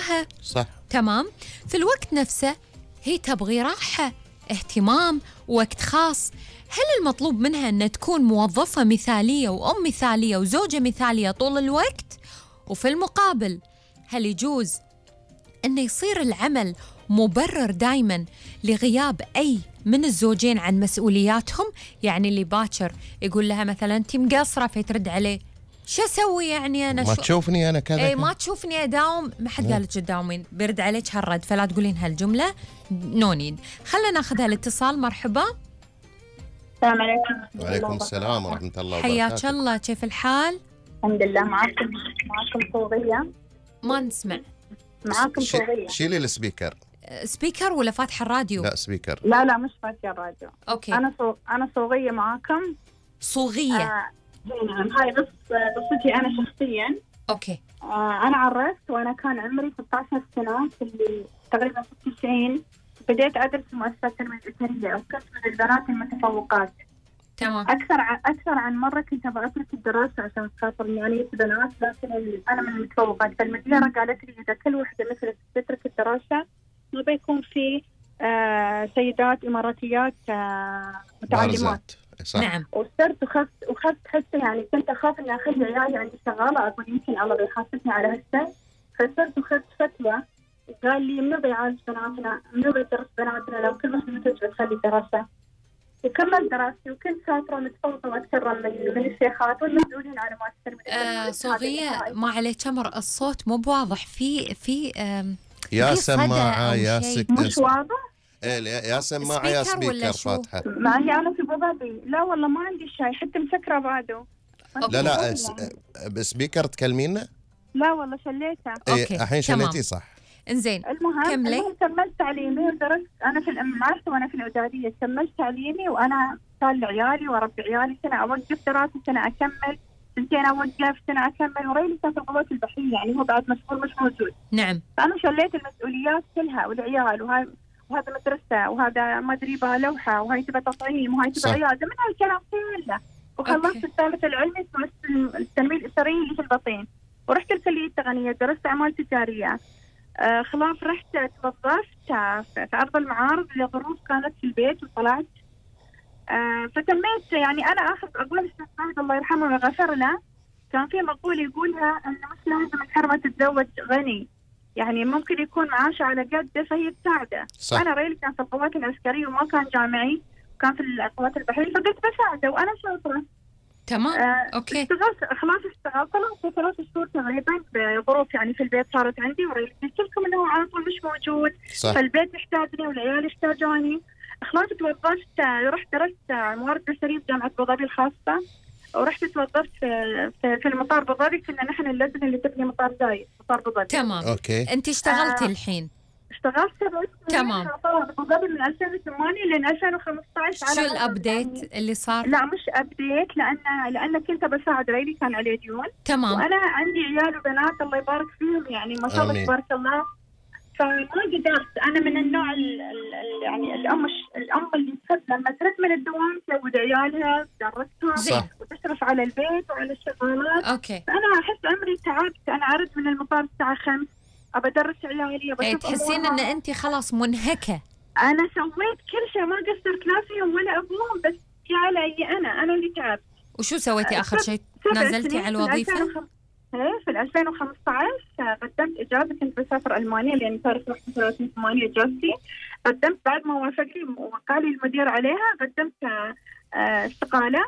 وياها. صح. تمام. في الوقت نفسه هي تبغي راحة، اهتمام، وقت خاص. هل المطلوب منها أن تكون موظفة مثالية وأم مثالية وزوجة مثالية طول الوقت؟ وفي المقابل هل يجوز أن يصير العمل مبرر دايماً لغياب أي من الزوجين عن مسؤولياتهم؟ يعني اللي باكر يقول لها مثلاً أنت مقصرة فترد عليه شو أسوي يعني أنا؟ ما تشوفني أنا كذا. أي ما تشوفني أداوم، ما حد قالت تداومين، برد عليك هالرد، فلا تقولين هالجملة. نو نيد. خلنا ناخذ هالاتصال. مرحبا. السلام عليكم. وعليكم السلام ورحمة الله وبركاته. حياك الله، كيف الحال؟ الحمد لله. معاكم صوغية. ما نسمع. معاكم صوغية. شيلي السبيكر. سبيكر ولا فاتحة الراديو؟ لا سبيكر. لا مش فاتحة الراديو. اوكي. أنا صوغية معاكم. صوغية. نعم. هاي قصتي أنا شخصيا. اوكي. أنا عرفت وأنا كان عمري 16 سنة، في تقريبا 96 بديت أدرس مؤسسة التنمية الأسرية، وكنت من البنات المتفوقات. تمام. أكثر عن مرة كنت أبغى أترك الدراسة عشان خاطر نوعية بنات، لكن أنا من المتفوقات، فالمديرة قالت لي إذا كل وحدة مثلك تترك الدراسة ما بيكون في سيدات إماراتيات متعلمات. صح. نعم. وصرت وخفت حتى، يعني كنت أخاف إني أخلي عيالي عندي شغالة، أقول يمكن الله بيحاسبني على هالشيء. فصرت وخذت فتوى، قال لي منو بيعالج بناتنا، منو بيدرس بناتنا لو كل واحدة مثلك بتخلي دراسة. وكملت دراستي وكنت شاطرة متفوقة وأتكرم من الشيخات والمسؤولين على مؤسسة صوغية. ما عليك أمر، الصوت مو بواضح. في يا سماعة يا مش واضح. يا سماعة يا سبيكر فاتحة. معي أنا في بابي. لا والله ما عندي شيء، حتى مسكرة بعده. لا بسبيكر تكلمينا. لا والله شليتها. اوكي الحين شليتي صح. انزين. المهم كملت تعليمي ودرست. انا في المعهد وانا في الاعداديه كملت تعليمي، وانا صار عيالي واربي عيالي، سنه اوقف دراسه، سنه اكمل، سنتين اوقف، سنه اكمل، وريلي كان في القوات البحريه، يعني هو بعد مشغول مش موجود. نعم. فانا شليت المسؤوليات كلها والعيال، وهذا مدرسه، وهذا ما ادري بها لوحه، وهي تبى تطعيم، وهي تبى عياده، من هالكلام كله. وخلصت الثالث العلمي في التنميه الاسريه اللي في البطين، ورحت الكليه التقنيه درست اعمال تجاريه. خلاص رحت توظفت في أرض المعارض لظروف كانت في البيت وطلعت. فتميت، يعني أنا أقول الشيخ فهد الله يرحمه ويغفر له، كان في مقولة يقولها أنه مش لازم الحرمة تتزوج غني، يعني ممكن يكون معاشه على قده فهي تساعده. أنا ريلي كان في القوات العسكرية وما كان جامعي، كان في القوات البحرية، فقلت بساعده وأنا شاطرة. تمام. اوكي. اشتغلت في 3 شهور تقريبا بظروف، يعني في البيت صارت عندي، قلت لكم انه على طول مش موجود. صح. فالبيت يحتاجني والعيال يحتاجوني. خلاص توظفت، رحت درست موارد بشريه في جامعه ابو ظبي الخاصه، ورحت توظفت في المطار ابو ظبي. كنا نحن اللجنه اللي تبني مطار زايد، مطار ابو ظبي. تمام. اوكي. انت اشتغلتي الحين؟ اشتغلت 7 سنين. تمام. ابو ظبي من 2008 لين 2015. شو الابديت اللي صار؟ لا مش ابديت، لان كنت بساعد ريلي كان عليه ديون. تمام. وانا عندي عيال وبنات الله يبارك فيهم، يعني ما شاء الله تبارك الله. فما قدرت، انا من النوع يعني الام اللي تحب لما ترد من الدوام تزود عيالها، تدرسهم وتشرف على البيت وعلى الشغلات. اوكي. فانا احس عمري تعبت، انا ارد من المطار الساعه 5 ابى ادرس عيالي، تحسين ان انت خلاص منهكه. انا سويت كل شيء، ما قصرت لا فيهم ولا ابوهم، بس يا علي انا اللي تعبت. وشو سويتي اخر شيء؟ نزلتي على الوظيفه؟ في 2015 قدمت اجازه، كنت بسافر المانيا لان صار 31/8 اجازتي. قدمت بعد ما وافقني وقال لي المدير عليها، قدمت استقاله.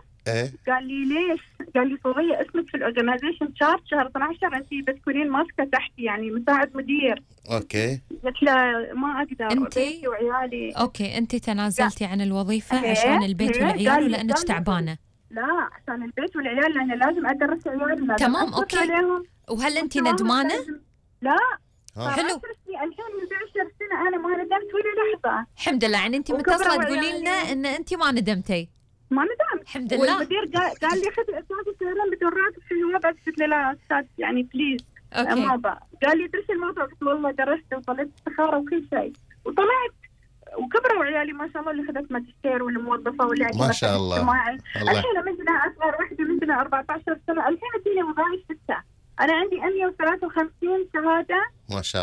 قال لي ليش؟ قال لي صوغية اسمك في الاورجنايزيشن شارت شهر 12 انت بتكونين ماسكه تحتي، يعني مساعد مدير. اوكي. قلت له ما اقدر، انتي وعيالي. اوكي. انت تنازلتي عن الوظيفه عشان البيت والعيال ولا انك تعبانه؟ لا عشان البيت والعيال، لان لازم ادرس عيالي. تمام. اوكي. وهل انت ندمانه؟ لا. حلو. الحين من 10 سنه انا ما ندمت ولا لحظه. الحمد لله. يعني انت متصله تقولي لنا ان انت ما ندمتي؟ ما ندمت الحمد لله. والمدير قال لي خذ الاجازه سهلا بدون راتب في الوضع. قلت له لا استاذ يعني بليز. اوكي. ما بقى. قال لي درس الموضوع، قلت والله درست وطلعت استخاره وكل شيء وطلعت، وكبروا عيالي ما شاء الله، اللي خذت ماجستير واللي موظفه واللي ما شاء الله. الحين عندنا اصغر واحده عندنا 14 سنه، الحين فيني وظائف 6. انا عندي 153 شهاده ما شاء